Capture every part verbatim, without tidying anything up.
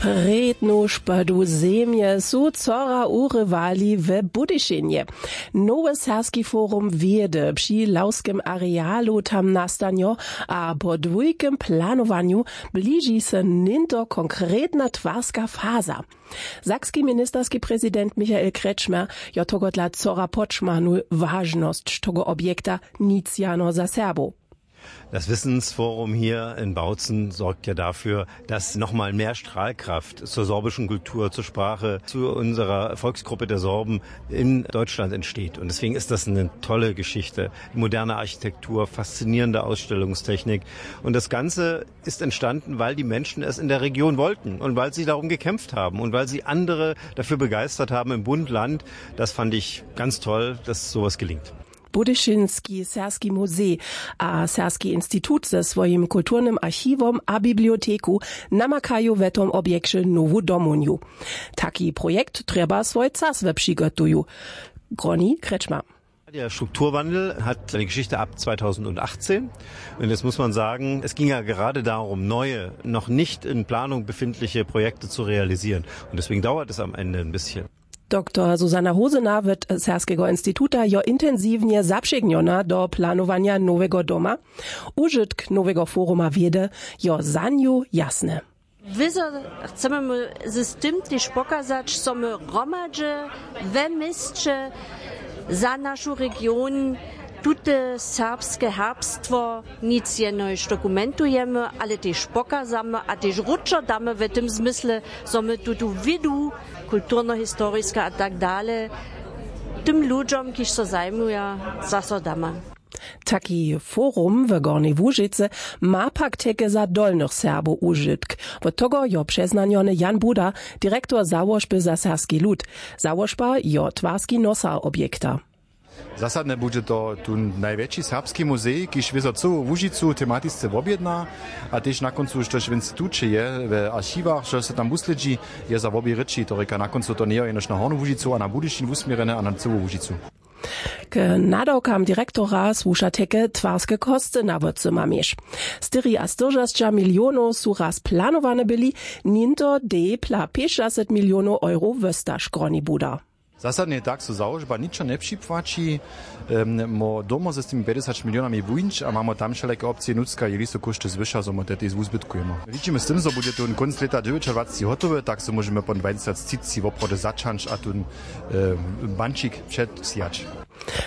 Prědnu špydu zemje su cora urywali w Budyšinje. Nowy serbski forum wědy při lawskem arealu tam nastanjo, a po dwójkem planowanju bliži se něnto konkretna twarska faza. Sakski ministerski prezident Michael Kretschmer jo tohodla cora podšmanu wažnosć toho objekta, nic jano za Serbow. Das Wissensforum hier in Bautzen sorgt ja dafür, dass noch mal mehr Strahlkraft zur sorbischen Kultur, zur Sprache, zu unserer Volksgruppe der Sorben in Deutschland entsteht. Und deswegen ist das eine tolle Geschichte. Moderne Architektur, faszinierende Ausstellungstechnik. Und das Ganze ist entstanden, weil die Menschen es in der Region wollten und weil sie darum gekämpft haben und weil sie andere dafür begeistert haben im Bund, Land. Das fand ich ganz toll, dass sowas gelingt. Budyšinski serbski muzej a Serbski institut ze swojim kulturnym archiwom a biblioteku namakaju w tom objekće nowu domołnju. Taki projekt trjeba swój czas we přigotuju. Groni Kretschmer. Der Strukturwandel hat seine Geschichte ab zweitausendachtzehn. Und jetzt muss man sagen, es ging ja gerade darum, neue, noch nicht in Planung befindliche Projekte zu realisieren. Und deswegen dauert es am Ende ein bisschen. Doktor Susanna Hosena wot Serbskeho instituta jo intensiwnje zapřegnjona do planowanja nowego doma. Užitk nowego foruma wědy jo za nju jasny. Wězo chcemy my z tym tež pokazać, zo my hromadźe we měsće za našu region tute serbske herbstwo nic jenož dokumentujemy, ale tež pokazamy a tež wróćo damy w tym zmysle, zo my tutu wědu kulturnohistoriska a tak dale tym ludźom, kiž so zajmuja, zaso damy. Taki forum w Gornjej Łužicy ma pak teke za dolnych Serbow užitk. Wot toho jo přeznanjony Jan Buda, direktor załožby za serbski lud. Załožba jo twarski nosar objekta. Zasadne budźe to tu najwjetši serbski muzej, kiž wězo cyłu Łužicu tematisce wobjedna, a tež na kóncu, štož w instituće je, w archiwach, što so tam wuslědźi, je za wobě rěči, to rěka na kóncu, to njejo jenož na Hornu Łužicu a na Budyšin wusměrjene a na cyłu Łužicu. K nadawkam direktora słuša teke twarske kosty na wocyma měš. Štyriaštyriasćdźesat milionow su raz planowane byli, něnto dej pla pěćdźesat milionow euro wósta, škroni Buda. Zasadnje tak so załožba ničo njepřipłaći. Mo domo z tymi pjećdźesat milionami wuńć a mamy tam wšelake opcije, nutřka je listo kóšty zwyša, zo my te tež wuzbytkujemy. Widźimy z tym, zo budźe tón kónc lěta dźewjećadwaceći hotowy, tak so móžemy pon dwajtysactřiceći woprawdźe zaćahnyć a tón bančik předsijać.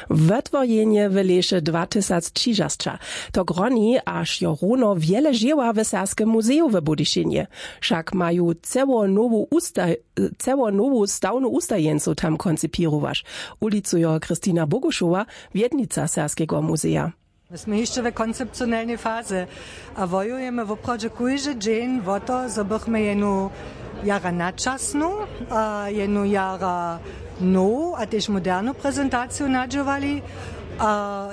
Wotworjenje w lěše dwatysactřižasća, to groni, až jo runo wjele žěła w serbskem muzeju w Budyšinje. Wšak maju ceło nowu usta- ceło nowu stawnu ustajeńcow tam koncipěrowaš, ulicujo Christina Bogušowa, wjednica Serbskeho muzeja. My smy hišće w koncepcionelnej faze a wojujemy woprawdźe kóždy dźeń wo to, zo bychmy jenu jara načasnu a jenu jara nowu a tež modernu prezentaciju nadźěłali. A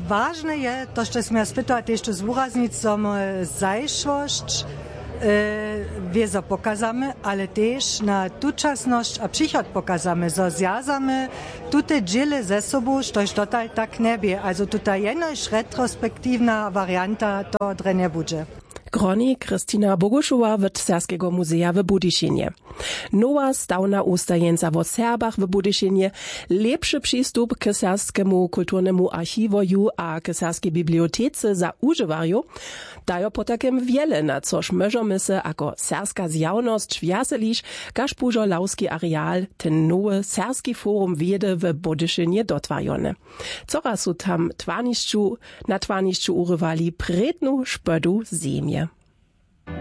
wažne je to, što smy ja spytała, tež to zwuraznić, zo my zašłosć wězo pokazamy, ale tež na tučasnosć a přichod pokazamy, zo zwjazamy tute dźěle ze sobu, štož dotal tak njebě. Also tuta jenož retrospektiwna warianta to drje njebudźe. Groni Christina Bogušowa wot Serbskeho muzeja w Budyšinje. Nowa stawna ustajeńca wo Serbach w Budyšinje, lěpši přistup k serbskemu kulturnemu archiwoju a k serbskej bibliotece za wužiwarjow, dajo potajkim wjele, na což móžemy se jako serbska zjawnosć wjazeliš, kaž bužo lawski areal, ten nowy serbski forum wědy w Budyšinje dotwarjony. Coraz su tam twarnišću na twarnišću urywali prědnu špydu zemje.